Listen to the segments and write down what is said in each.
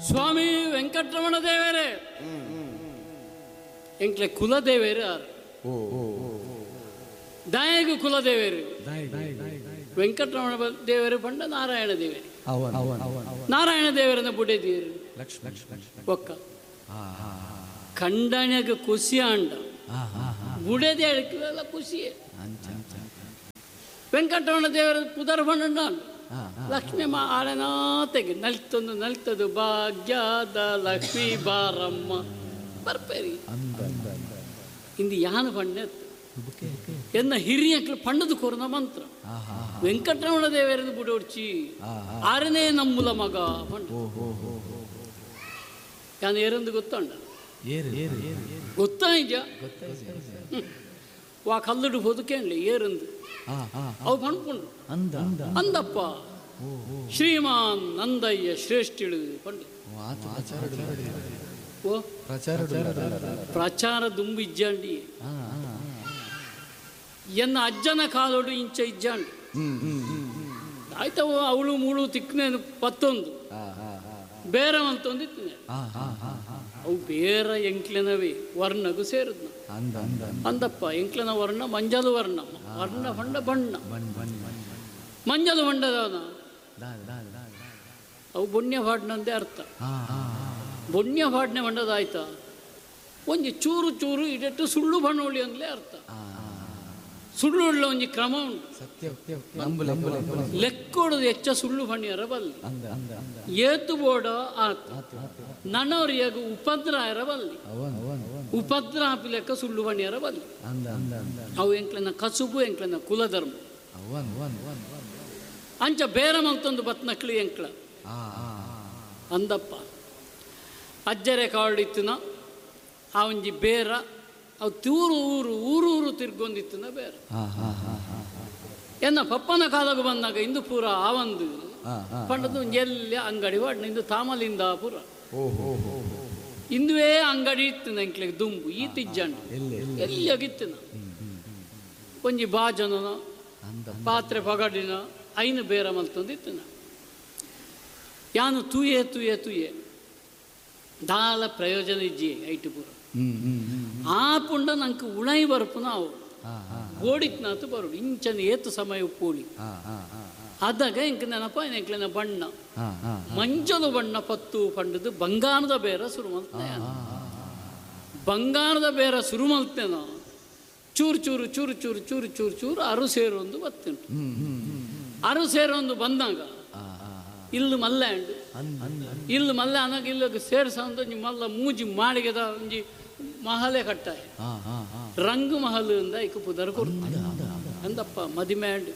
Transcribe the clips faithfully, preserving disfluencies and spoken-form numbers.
ಸ್ವಾಮಿ ವೆಂಕಟರಮಣ ದೇವರೇ ಎಂಕ್ಲೆ ಕುಲದೇವೇರು ಆರು ದಾಯಗು ಕುಲದೇವೇರು ವೆಂಕಟರಮಣ ದೇವರು ಪಂಡ ನಾರಾಯಣ ದೇವರು ನಾರಾಯಣ ದೇವರನ್ನ ಬುಡೆದೀರು ಒಕ್ಕ ಕಂಡನೆಗ ಖುಷಿ ಅಂಡ ಬುಡೆದೆ ಅಳಕ್ಕೆಲ್ಲ ಖುಷಿಯೇ ವೆಂಕಟರಮಣ ದೇವರ ಪುದರ್ ಪಂಡ ಲಕ್ಷ್ಮೀ ಮಾ ಆಳೆನಾತೆಗೆ ನಲ್ತೊಂದು ನಲ್ತದು ಭಾಗ್ಯದ ಲಕ್ಷ್ಮೀ ಬಾರಮ್ಮ ಬರ್ಪೇರಿ ಇಂದು ಯಾನು ಪಂಡೆ ಎನ್ನ ಹಿರಿಯಕ್ಲು ಪಣ್ಣದು ಕೋರ್ನ ಮಂತ್ರ ವೆಂಕಟರಮಣ ದೇವರನ್ನು ಬುಡೋಡ್ಚಿ ಆರನೇ ನಮ್ಮುಲ ಮಗ ಪಂಡ ಯಾನು ಏರಂದು ಗೊತ್ತಂಡ ಗೊತ್ತಾಯ್ಜ ವಾ ಕಲ್ಲುಡು ಬದುಕೇನ್ಲಿ ಏರಂದು ಅವು ಪಣ್ಪುಂಡು ಅಂದಪ್ಪ ಶ್ರೀಮಾನ್ ನಂದಯ್ಯ ಶ್ರೇಷ್ಠಿಳು ಪಂಡು ಓ ಪ್ರಚಾರ ದುಂಬು ಇಜ್ಜಾಂಡಿ ಎನ್ನ ಅಜ್ಜನ ಕಾಲೋಡು ಇಂಚ ಇಜ್ಜಾಂಡಿ ಆಯ್ತವು ಅವಳು ಮೂಳು ತಿಕ್ಕನೇನು ಪತ್ತೊಂದು ಬೇರೆ ಅಂತೊಂದು ಇತ್ತಿನ ಅವು ಬೇರೆ ಎಂಕ್ಲೆನವೇ ವರ್ಣಗೂ ಸೇರಿದ್ನ ಅಂದಪ್ಪ ಎಂಕ್ಲೆನ ವರ್ಣ ಮಂಜಲು ವರ್ಣ ವರ್ಣ ಬಣ್ಣ ಬಣ್ಣ ಮಂಜಲು ಬಣ್ಣದವನ ಅವು ಬೊಣ್ಯ ಪಾಡ್ನಂದೇ ಅರ್ಥ ಬೊಣ್ಯ ಪಾಡ್ನೆ ಬಣ್ಣದಾಯ್ತ ಒಂಜಿ ಚೂರು ಚೂರು ಇಡೆಟ್ಟು ಸುಳ್ಳು ಬಣ್ಣೋಳಿ ಅಂದಲೇ ಅರ್ಥ ಸುಳ್ಳು ಉಳ್ಳ ಒಂಜಿ ಕ್ರಮ ಉಂಟು ಲೆಕ್ಕೊಡದು ಹೆಚ್ಚ ಸುಳ್ಳು ಬಣ್ಣಿಯರ ಬಲ್ಲಿ ಏತು ಬೋಡ ಆತ ನನ್ನವರಿಯಾಗ ಉಪದ್ರ ಆಯರ ಬಲ್ಲಿ ಉಪದ್ರ ಹಾಪಿ ಲೆಕ್ಕ ಸುಳ್ಳು ಬಣ್ಣಿಯರ ಬಲ್ಲಿ ಅವು ಎಂಕ್ಲನ ಕಸುಬು ಎಂಕ್ಲನ ಕುಲಧರ್ಮ ಅಂಚ ಬೇರೆ ಮಂತೊಂದು ಬತ್ನಕ್ಲಿ ಎಂಕ್ಲ ಅಂದಪ್ಪ ಅಜ್ಜರೆ ಕಾಳಿತ್ತಿನ ಆ ಒಂಜಿ ಬೇರ ಅವು ತೂರು ಊರು ಊರು ಊರು ತಿರ್ಗೊಂದಿತ್ತಿನ ಬೇರೆ ಎನ್ನ ಪಪ್ಪನ ಕಾಲಕ್ಕೆ ಬಂದಾಗ ಇಂದು ಪೂರ ಆ ಒಂದು ಪಂಡದು ಎಲ್ಲಿ ಅಂಗಡಿ ವಾಡ್ನ ಇಂದು ತಾಮಲಿಂದ ಪೂರ ಇಂದುವೇ ಅಂಗಡಿ ಇತ್ತು ಎಂಕ್ಲೆಗ್ ದುಂಬು ಈ ತಿಜ್ಜಂಡು ಎಲ್ಲಿಯಾಗಿತ್ತಿನ ಒಂಜಿ ಬಾಜನನ ಪಾತ್ರೆ ಪಗಡಿನ ಐನು ಬೇರೆ ಮಲ್ತೊಂದಿತ್ತಿನ ಯಾನು ತೂಯೆ ತೂಯೆ ತೂಯೆ ದಾಲ ಪ್ರಯೋಜನ ಇಜ್ಜಿ ಐಟು ಪೂರ ಆ ಪುಂಡ ನಂಗೆ ಉಣೈ ಬರ್ಪುನ ಅವು ಗೋಡಿಕ್ನಾತು ಬರುಡು ಇಂಚನ ಏತು ಸಮಯ ಉಪ್ಪೋಳಿ ಅದಾಗ ಎಂಕ್ ನೆನಪ ಎಂಕ್ಲೆನ ಬಣ್ಣ ಮಂಜಲು ಬಣ್ಣ ಪತ್ತು ಪಂಡದು ಬಂಗಾರದ ಬೇರ ಶುರು ಮಲ್ತೆ ಬಂಗಾರದ ಬೇರ ಶುರು ಮಲ್ತೇನ ಚೂರು ಚೂರು ಚೂರು ಚೂರು ಚೂರು ಚೂರು ಚೂರು ಅರು ಸೇರೊಂದು ಬತ್ತುಂಟು ಅರು ಸೇರೊಂದು ಬಂದಾಗ ಇಲ್ಲು ಮಲ್ಲ ಅಂಡು ಇಲ್ಲು ಮಲ್ಲ ಅನ್ನಾಗ ಇಲ್ಲಗೆ ಸೇರ್ಸ ಒಂಜಿ ಮಲ್ಲ ಮೂಜಿ ಮಾಳಿಗೆದ ಒಂಜಿ ಮಹಲೆ ಕಟ್ಟಾಯ ರಂಗು ಮಹಲ್ ಅಂದ ಇಕ್ಕ ಪುದರ್ ಕೊಡ್ತ ಅಂದಪ್ಪ ಮದಿಮೆ ಅಂಡು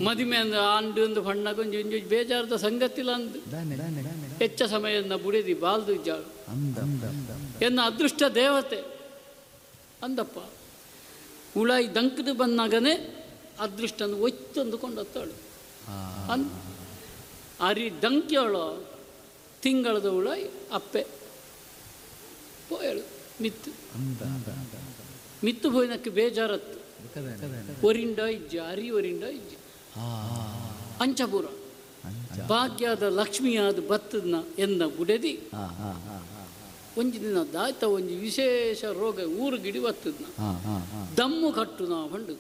ಮದಿಮೆ ಅಂದ ಅಂಡು ಅಂದು ಬಣ್ಣಗ ಒಂಜಿ ಒಂಜಿ ಬೇಜಾರದ ಸಂಗತಿಲ್ಲ ಅಂದು ಹೆಚ್ಚ ಸಮಯದ ಬುಡಿದಿ ಬಾಲ್ದು ಇಜ್ಜಾಳು ಎನ್ನ ಅದೃಷ್ಟ ದೇವತೆ ಅಂದಪ್ಪ ಉಳಾಯಿ ದಂಕದು ಬಂದಾಗನೇ ಅದೃಷ್ಟನ ಒತ್ತೊಂದು ಕೊಂಡತ್ತಾಳು ಅಂದ್ ಅರಿ ದಂಕ್ಯೋಳು ತಿಂಗಳದ ಉಳಾಯಿ ಅಪ್ಪೆ ಪೋಯಳು ಮಿತ್ತು ಮಿತ್ತು ಪೋಯಿನಕ್ಕೆ ಬೇಜಾರತ್ತು ಒರಿಂಡ ಇಜ್ಜೆ ಅರಿ ಒರಿಂಡ ಇಜ್ಜೆ ಅಂಚಪುರ ಭಾಗ್ಯದ ಲಕ್ಷ್ಮಿಯಾದ ಬತ್ತದನ್ನ ಎನ್ನ ಬುಡೆದಿ ಒಂಜಿ ದಿನ ದಾಯ್ತ ಒಂಜಿ ವಿಶೇಷ ರೋಗ ಊರು ಗಿಡಿ ಬತ್ತದನ್ನ ದಮ್ಮು ಕಟ್ಟು ನಾ ಪಂಡು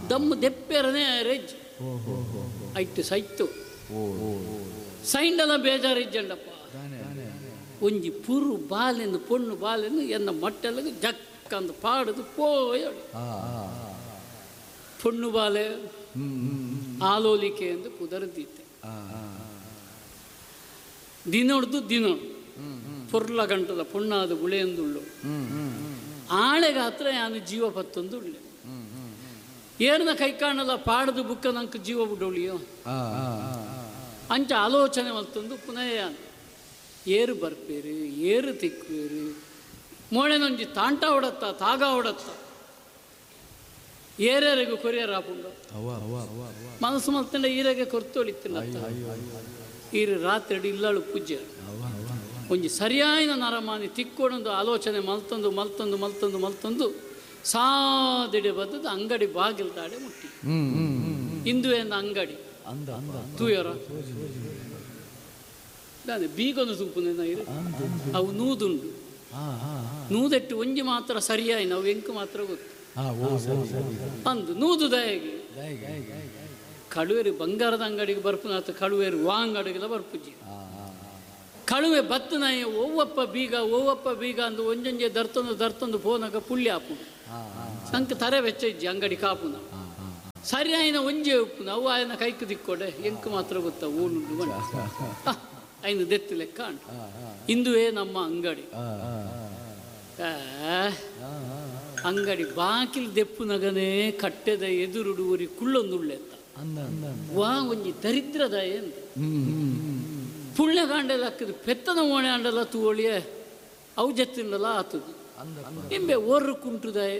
ದಮ್ಮು ದೆಪ್ಪೆರನೇ ರೆಜ್ ಐತು ಸೈತು ಸೈಂಡಲ ಬೇಜಾರಿಜ್ಜಂಡಪ್ಪ ಒಂಜಿ ಪುರು ಬಾಲೆಂದು ಪೊಣ್ಣು ಬಾಲೆಂದು ಎನ್ನ ಮಟ್ಟೆಲ್ಲ ಜಕ್ಕಂದು ಪಾಡುದು ಪೋಯಳು ಪೊಣ್ಣು ಬಾಲೆ ಆಲೋಲಿಕೆ ಎಂದು ಪುದರ್ದಿತ್ತೆ ದಿನೊಡ್ದು ದಿನೊಡು ಪೊರ್ಲ ಗಂಟದ ಪೊಣ್ಣಾದ ಗುಳೆಯೊಂದುಳ್ಳು ಆಳೆಗಾತ್ರ ಯಾನು ಜೀವ ಪತ್ತೊಂದು ಉಳ್ಳೆ ಏರ್ನ ಕೈ ಕಾಣಲ್ಲ ಪಾಡದು ಬುಕ್ಕ ನಂಗೆ ಜೀವ ಬಿಡೋಳಿಯೋ ಅಂಚ ಆಲೋಚನೆ ಮಲ್ತೊಂದು ಪುನಃ ಯಾನು ಏರು ಬರ್ಪೇರು ಏರು ತಿಕ್ಕುವೇರು ಮೋಳೆನೊಂಜಿ ತಾಂಟ ಹೊಡತ್ತ ತಾಗ ಹೊಡತ್ತ ಏರೇರಿಗೂ ಕೊರಿಯರ್ ಆಪುಂಡು ಮನಸ್ಸು ಮಲ್ತಂಡ ಈರೆಗೆ ಕೊರ್ತೊಳಿತ್ತಿಲ್ಲ ಈರು ರಾತ್ರಿ ಇಲ್ಲಾಳು ಪೂಜೆ ಒಂಜಿ ಸರಿಯಾದ ನರಮಾನಿ ತಿಕ್ಕೊಡೊಂದು ಆಲೋಚನೆ ಮಲ್ತೊಂದು ಮಲ್ತೊಂದು ಮಲ್ತೊಂದು ಮಲ್ತೊಂದು ಸಾದಿಡೆ ಬದ್ದದ್ದು ಅಂಗಡಿ ಬಾಗಿಲ್ತಾಡೆ ಮುಟ್ಟಿ ಇಂದುವೇನ ಅಂಗಡಿ ತೂಯರ ದಾನೆ ಬೀಗನು ತೂಪುನ ಅವು ನೂದುಂಡು ನೂದೆಟ್ಟು ಒಂಜಿ ಮಾತ್ರ ಸರಿಯಾಯಿನ ಅವು ಎಂಕು ಮಾತ್ರ ಗೊತ್ತು ಅಂದು ನೂದು ದಯಗೆ ಕಳುವೇರು ಬಂಗಾರದ ಅಂಗಡಿಗೆ ಬರ್ಪುನಾತ ಕಳುವೇರು ವಾ ಅಂಗಡಿಗೆಲ್ಲ ಬರ್ಪುಜಿ ಕಳುವೆ ಬತ್ತನಾಯ ಓವಪ್ಪ ಬೀಗ ಓವಪ್ಪ ಬೀಗ ಅಂದು ಒಂಜೊಂಜೆ ದರ್ತೊಂದು ದರ್ತೊಂದು ಪೋನಾಗ ಪುಳ್ಳಿ ಆಪುನು ಸಂಕ ತರೆ ವೆಚ್ಚ ಇಜ್ಜಿ ಅಂಗಡಿ ಕಾಪುನ ಸರಿಯಾಯಿನ ಒಂಜೆ ಉಪ್ಪುನ ಅವು ಆಯನ ಕೈಕು ದಿಕ್ಕೋಡೆ ಎಂಕು ಮಾತ್ರ ಗೊತ್ತ ಓನುಂಡು ಬಂಡ ಐನು ದೆತ್ತು ಲೆಕ್ಕ ಅಂಟು ಇಂದುವೇ ನಮ್ಮ ಅಂಗಡಿ ಅಂಗಡಿ ಬಾಕಿಲ್ ದೆಪ್ಪುನಗನೇ ಕಟ್ಟೆದ ಎದುರುಡು ಊರಿ ಕುಳ್ಳೊಂದುಳ್ಳೆತ್ತ ವಾ ಒಂಜಿ ದರಿದ್ರದ ಎಂದ ಪುಣ್ಯಕಾಂಡೆಲ್ಲ ಹಾಕಿದ್ ಪೆತ್ತನ ಓಣೆ ಅಂಡಲ್ಲ ತೂವಳಿಯೇ ಅವು ಜತ್ತಿಂಡಲ್ಲ ಆತದು ಇಂಬೆ ಓರ್ರು ಕುಂಟುದಾಯೆ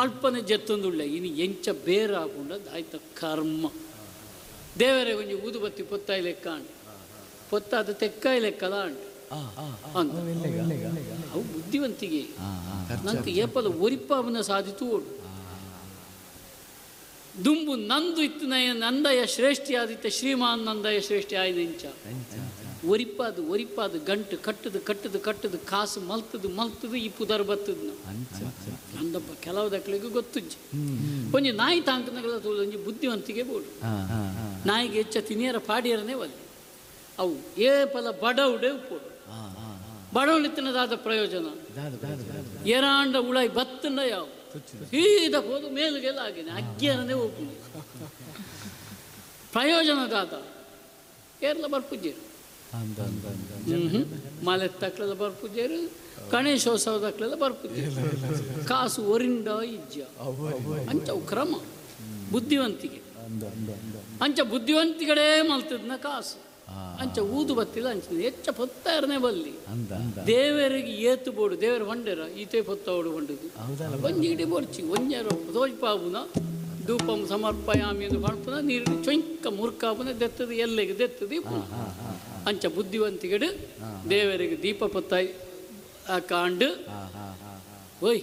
ಅಲ್ಪನೆ ಜತ್ತೊಂದುಳ್ಳೆ ಇನ್ನು ಎಂಚ ಬೇರೆ ಆಪುಂಡ ಆಯ್ತ ಕರ್ಮ ದೇವರೇ ಒಂಜಿ ಊದುಬತ್ತಿ ಪೊತ್ತಾಯಿ ಲೆಕ್ಕ ಅಂಡು ಪೊತ್ತಾದ ತೆಕ್ಕಾಯಿ ಲೆಕ್ಕಲ ಅಂಡು ಅಂತ ಅವು ಬುದ್ಧಿವಂತಿಗೆ ನಂಗೆ ಏಪಲ ಒರಿಪಾವನ ಸಾಧಿತು ಓಡು ದುಂಬು ನಂದು ಇತ್ತು ನಯ ನಂದಯ ಶ್ರೇಷ್ಠಿ ಆದಿತ್ಯ ಶ್ರೀಮಾನ್ ನಂದಯ ಶ್ರೇಷ್ಠಿ ಆಯ್ನೆಂಚ ಒರಿಪಾದು ಒರಿಪಾದು ಗಂಟು ಕಟ್ಟದು ಕಟ್ಟದು ಕಟ್ಟದು ಕಾಸು ಮಲ್ತದು ಮಲ್ತದು ಈ ಪುದರ್ ಬತ್ತದ ಅಂದಪ್ಪ ಕೆಲವು ದಕ್ಕಲಿಗೆ ಗೊತ್ತುಜ್ಜಿ ಒಂಜಿ ನಾಯಿ ತಾಂಕನಗಲ ಒಂಜಿ ಬುದ್ಧಿವಂತಿಗೆ ಬೋಡು ನಾಯಿಗೆ ಹೆಚ್ಚ ತಿನಿಯರ ಪಾಡಿಯರನೇ ಒಲ್ಲೆ ಅವು ಏ ಪಲ ಬಡವುಡೆ ಉಪ್ಪೋಡು ಬಡವಳಿತನದಾದ ಪ್ರಯೋಜನ ಏರಾಂಡ ಉಳಾಯಿ ಬತ್ತಂಡ ಯಾವ ಸೀದಾ ಹೋದು ಮೇಲುಗೆಲ್ಲ ಆಗಿದೆ ಅಗ್ಗಿಯರನೇ ಒಪ್ಪುಂಡು ಪ್ರಯೋಜನದಾದ ಏರ್ಲ ಬರ್ಪುಜೇರು ಮಲೆ ತಕ್ಲೆಲ್ಲ ಬರ್ಪುಜೇರು ಗಣೇಶೋತ್ಸವದಕ್ಲೆಲ್ಲ ಬರ್ಪುಜೇರು ಕಾಸು ಒರಿಂಡ ಇಜ್ಜ ಅಂಚವು ಕ್ರಮ ಬುದ್ಧಿವಂತಿಗೆ ಅಂಚ ಬುದ್ಧಿವಂತಿಗಳೇ ಮಲ್ತದ್ನ ಕಾಸು ಅಂಚ ಊದು ಬತ್ತಿಲ್ಲ ಅಂಚ ಹೆಚ್ಚ ಪೊತ್ತಾರನೇ ಬಲ್ಲಿ ದೇವರಿಗೆ ಏತು ಬೋಡು ದೇವರು ಹೊಂಡೆರ ಈತೆ ಪೊತ್ತವಡು ಹೊಂಡದು ಒಂಜಿ ಇಡೀ ಬೋಡ್ಚಿ ಒಂಜಾರ ತೋಜ್ಪಾಬುನ ಧೂಪಂ ಸಮರ್ಪಯಾಮಿ ಎಂದು ಪಣಪುನ ನೀರು ಚೊಂಕ ಮುರ್ಕಾಪುನ ದೆತ್ತದು ಎಲ್ಲೆಗೆ ದೆತ್ತದು ಇಪ್ಪುನ ಅಂಚ ಬುದ್ಧಿವಂತಿಗಡು ದೇವರಿಗೆ ದೀಪ ಪೊತ್ತಾಯಿ ಕಾಂಡು ಓಯ್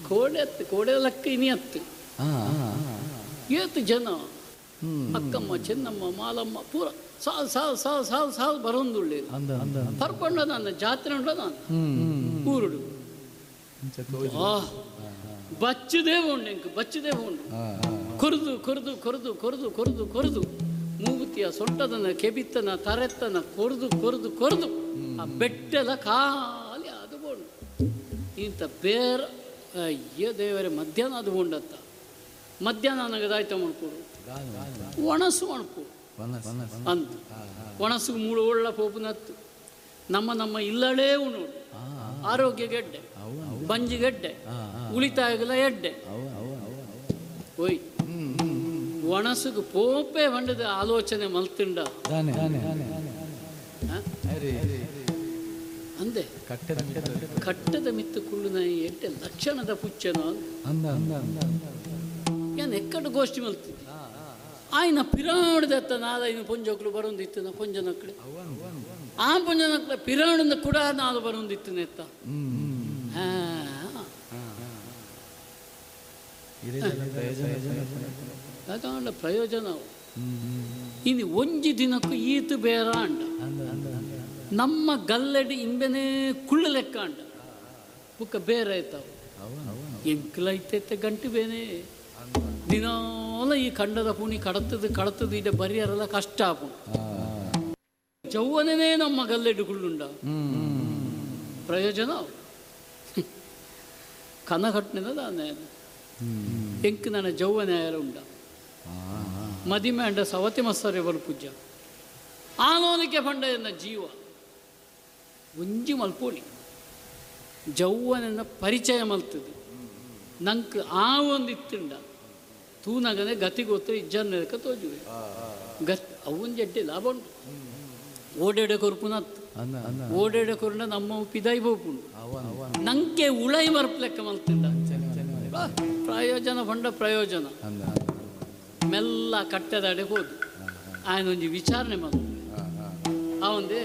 ಕೋಡೆ ಅತ್ತು ಕೋಡೆ ಲಕ್ಕ ಇನಿ ಅತ್ತು ಏತು ಜನ ಅಕ್ಕಮ್ಮ ಚೆನ್ನಮ್ಮ ಮಾಲಮ್ಮ ಪೂರ ಸಾಲ್ ಸಾಲ್ ಸಾಲ್ ಸಾಲ್ ಸಾಲ್ ಬರೋಂದುಳ್ಳೆ ಪರ್ಕೊಂಡ ನಾನು ಜಾತ್ರೆ ಉಂಡ ನಾನು ಊರುಡು ಬಚ್ಚದೇ ಉಂಡು ಎಂಕ್ ಬಚ್ಚದೇ ಉಂಡು ಕೊರ್ದು ಕೊರ್ದು ಕೊರ್ದು ಕೊರ್ದು ಕೊರ್ದು ಕೊರ್ದು ಮೂಗುತಿಯ ಸೊಂಟದನ ಕೆಬಿತ್ತನ ತರೆತ್ತನ ಕೊರ್ದು ಕೊರ್ದು ಕೊರ್ದು ಆ ಬೆಟ್ಟೆಲ್ಲ ಖಾಲಿ ಅದು ಬೋಂಡು ಇಂಥ ಬೇರೆ ಅಯ್ಯೋ ದೇವರೇ ಮಧ್ಯಾಹ್ನ ಅದು ಬೋಂಡತ್ತ ಮಧ್ಯಾಹ್ನ ನನಗದಾಯ್ತ ಮಾಡ್ಕೊಡು ಒಣಸು ಒಣಪು ಅಂತ ಒಣಸು ಮೂಳು ಒಳ್ಳ ಪೋಪುನತ್ತು ನಮ್ಮ ನಮ್ಮ ಇಲ್ಲಳೇ ಉಣು ಆರೋಗ್ಯ ಗೆಡ್ಡೆ ಬಂಜಿಗೆಡ್ಡೆ ಉಳಿತಾಯಗಲ ಎಡ್ಡೆ ಓಯ್ ಒಣಸುಗೆ ಪೋಪೆ ಬಂಡದ ಆಲೋಚನೆ ಮಲ್ತಿಂಡ ಅಂದೆ ಕಟ್ಟದ ಮಿತ್ತು ಕುಳ್ಳುನ ಎಡ್ಡೆ ಲಕ್ಷಣದ ಪುಚ್ಚನ ಏನ್ ಎಕ್ಕಡ ಗೋಷ್ಠಿ ಮಲ್ತಿದ್ದೆ ಆಯ್ನ ಪಿರಾಣದತ್ತ ನಾಲೈನು ಪೊಂಜೋಕ್ಲು ಬರೋಂದಿತ್ತು ನಾ ಪೊಂಜನಕ್ಳು ಆ ಪೊಂಜನಕ್ಳ ಪಿರಾಣದ ಕೂಡ ನಾಲು ಬರೋಂದಿತ್ತು ನೆತ್ತ ಅದಾಂಡ ಪ್ರಯೋಜನ ಇನ್ನು ಒಂಜಿ ದಿನಕ್ಕೂ ಈತು ಬೇರ ಅಂಡ ನಮ್ಮ ಗಲ್ಲೆಡಿ ಇಂಬೆನೇ ಕುಳ್ಳು ಲೆಕ್ಕ ಅಂಡ ಬುಕ್ಕ ಬೇರೆ ಆಯ್ತಾವು ಎಂಕ್ಲೈತೈತೆ ಗಂಟು ಬೇನೆ ದಿನಾಲ ಈ ಖಂಡದ ಪುಣಿ ಕಡತದು ಕಡತದು ಇದೆ ಬರಿಯರಲ್ಲ ಕಷ್ಟ ಆಪುಂಡು ಜೌವನೇ ನಮ್ಮ ಗಲ್ಲೆಡುಗುಳ್ಳುಂಡ ಪ್ರಯೋಜನ ಕನಘಟ್ನೆದ ದಾನೆ ಎಂಕ್ ನನ್ನ ಜೌವನ ಉಂಡ ಮದಿಮೆ ಅಂಡ ಸವತಿ ಮಸ್ಸರೆ ಬಲ್ಪುಜ್ಜ ಆನೋನಿಕೆ ಫಂಡ ಎನ್ನ ಜೀವ ಒಂಜಿ ಮಲ್ಪೋಳಿ ಜೌವನನ್ನ ಪರಿಚಯ ಮಲ್ತದು ನಂಕ್ ಆ ಒಂದು ಇತ್ತುಂಡ ತೂನಗನೆ ಗತಿ ಗೊತ್ತು ಇಜ್ಜನ್ನೆದಕ್ಕೆ ತೋಜುವೆ ಗತ್ ಅವನ್ ಜಡ್ಡೆ ಲಾಭ ಉಂಟು ಓಡೇಡೆ ಕೊರ್ಪುನತ್ತು ಓಡೇಡೆ ಕೊರ್ನ ನಮ್ಮ ಪಿದಾಯಿ ಬೋಪುಂಡು ನಂಕೆ ಉಳೈ ಬರ್ಪ್ಲೆಕ್ಕ ಮಲ್ತಿಂಡ ಪ್ರಯೋಜನ ಫಂಡ ಪ್ರಯೋಜನ ಮೆಲ್ಲ ಕಟ್ಟೆದಾಡೆ ಹೋದು ಆಯನೊಂಜಿ ವಿಚಾರಣೆ ಮಲ್ತು ಅವಂದೇ